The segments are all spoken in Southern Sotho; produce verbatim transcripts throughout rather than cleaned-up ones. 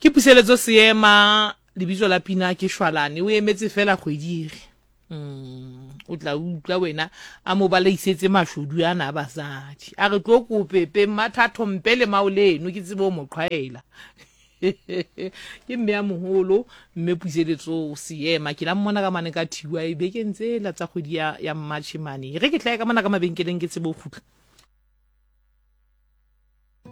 Ke Puseletso Seema, lebitso la pina ke Shwalane. O emetse fela kgwedi ere. Mm, o tla utlwa wena a mo balaisetse mashodu ana a basadi. A re tlo kope pe mmathatho mpe le mao leno ke tsebe o mo qhwaela. Ke mme a moholo mme Puseletso Seema, ke la mmona ka mane ka thiwa e bekeng tsela tsa kgwedi ya, ya March mane. Re ke tla ka mona ka mabenkeleng ke tsebe ho kgutla.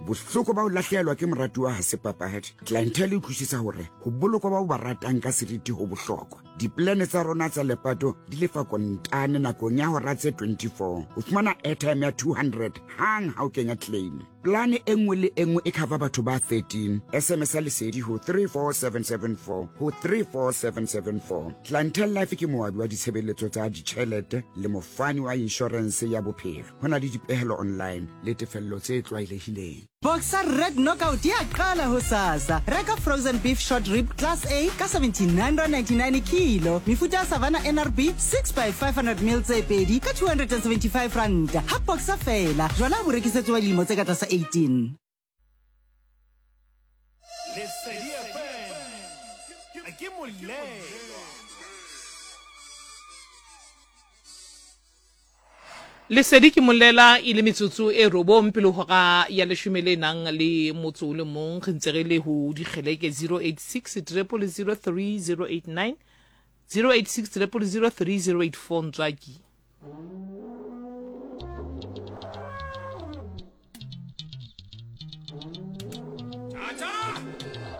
Bohloko ba ho lahlehelwa ke moratuwa ha se papadi. Clientele e utlwisisa hore ho bolokwa ba o ba ratang ka seriti ho bohlokwa. Dipolane tsa rona tsa lepato di lefa kontane nakong ya hora tse twenty-four. O fumana airtime ya two hundred hang ha o kenya claim. Plane e nngwe le e nngwe e cover batho ba thirteen. S M S ya Lesedi ho three four seven seven four ho three four seven seven four. Clientele Life ke moabi wa ditshebeletso tsa ditjhelete le mofani wa insurance ya bophelo. Ho na le dipehelo online le tefello tse tlwaelehileng. Boxer Red Knockout ya qala hosasa. Reka frozen beef short rib class A ka seventy-nine rand ninety-nine kilo. Mefuta ya Savannah N R B six by five hundred mil tse pedi ka two hundred and seventy-five rand. Ha Boxer fela, jwala bo rekisetswa dilemo tse ka tlasa eighteen. Lesedi F M ke molelo. Lesedi ke molela e le metsotso e robong pele hora ya leshome le nang le motso o le mong. Re ntse re le ho dikgeleke zero eight six triple zero three zero eight nine, zero eight six triple zero three zero eight four. Ntswaki.